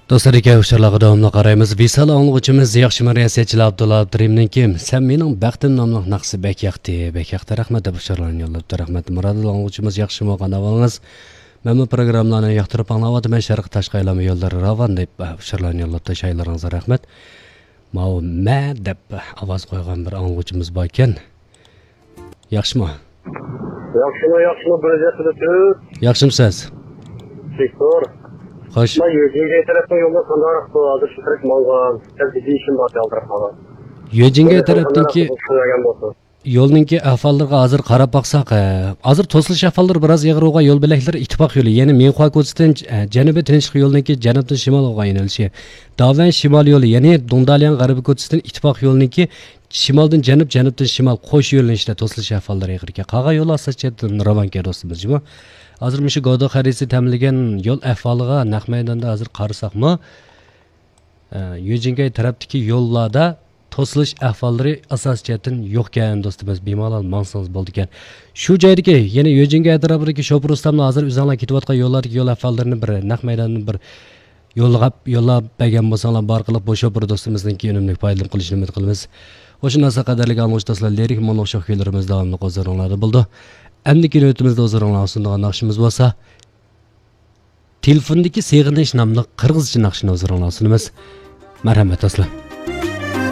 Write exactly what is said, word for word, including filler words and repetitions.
دوستلار، ئىكەن ئۇچۇرلارغا داۋاملىق قارايمىز. ۋىسال ئاڭلىغۇچىمىز ياخشىمۇ رىياسەتچى ئابدۇللا ئابدۇرېھىمنىڭكى «سەن مېنىڭ بەختىم» ناملىق ناخشىسى بەك ياقتى، بەك ياقتى، رەھمەت دەپ ئۇچۇرلارنى يوللاپتۇ. رەھمەت. مۇرادىل ئاڭلىغۇچىمىز ياخشىمۇ، قانداق ئەھۋالىڭىز؟ مەنمۇ پروگراممىلارنى ياقتۇرۇپ ئاڭلاۋاتىمەن، شەرقىي تاشقى ئايلانما يوللىرى راۋان دەپ ئۇچۇرلارنى يوللاپتۇ. شائىرلىرىڭىزغا رەھمەت. ماۋۇ مە دەپ ئاۋاز قويغان بىر ئاڭلىغۇچىمىز بار ئىكەن. ياخشىمۇ؟ ياخشىمۇ، ياخشىمۇ، بىر يۈز يەتتە تۆت. ياخشىمۇسىز؟ تېكتۇر. خوش. مانا يۆجىنگەي تەرەپنىڭ يولى قانداقراق بۇ؟ ھازىر شۇ تەرەپ ماڭغان. سەل جىددىي ئىشىم بار، يالدىراپ قالغان. يۆجىنگەي تەرەپتىكى، يولنىڭكى ئەھۋاللىرىغا ھازىر قاراپ باقساق، ئە، ھازىر توسۇلۇش ئەھۋاللىرى بىراز ئېغىر بولغان يول بۆلەكلىرى ئىتتىپاق يولى، يەنى مىڭخۇا كوچىسىدىن، ئە، جەنۇبىي تىنچلىق يولىنىڭكى جەنۇبتىن شىمالغا ئايلىنىشى، داۋەن شىمال يولى، يەنى دۇڭدالياڭ غەربىي كوچىسىدىن ئىتتىپاق يولىنىڭكى شىمالدىن جەنۇب، جەنۇبتىن شىمال قوش يۆنىلىشتە توسۇلۇش ئەھۋاللىرى ئېغىر ئىكەن. قالغان يول ئاساسىي جەھەتتىن راۋانكەن دوستىمىز، جۇمۇ. ھازىر مۇشۇ گودو خەرىتىسى تەمىنلىگەن يول ئەھۋالىغا نەق مەيداندا ھازىر قارىساقمۇ، ئە، يۆجىنگەي تەرەپتىكى يوللاردا توسۇلۇش ئەھۋاللىرى ئاساسىي جەھەتتىن يوقكەن دوستىمىز، بىمالال ماڭسىڭىز بولىدىكەن. شۇ جايدىكى يەنە يۆجىنگەي ئەتراپىدىكى شوپۇر ئۇستاملار ھازىر ئۆزۈڭلار كېتىۋاتقان يوللاردىكى يول ئەھۋاللىرىنى بىر نەق مەيداندىن بىر يوللاپ، يوللاپ بەرگەن بولساڭلار، بارغىلىق بۇ شوپۇر دوستىمىزنىڭكى ئۈنۈملۈك پايدىلىنىپ قېلىشىنى ئۈمىد قىلىمىز. مۇشۇ نەرسە قەدەرلىك ئاڭلىغۇچى دوستلار، لىرىك مۇڭلۇق شوخ كۈيلىرىمىز داۋاملىق ھۇزۇرۇڭلاردا بولىدۇ. ئەمدىكى نۆۋىتىمىزدە ھۇزۇرۇڭلارغا سۇنىدىغان ناخشىمىز بولسا، تېلېفوندىكى سېغىنىش ناملىق قىرغىزچە ناخشىنى ھۇزۇرۇڭلارغا سۇنىمىز. مەرھەمەت دوستلار.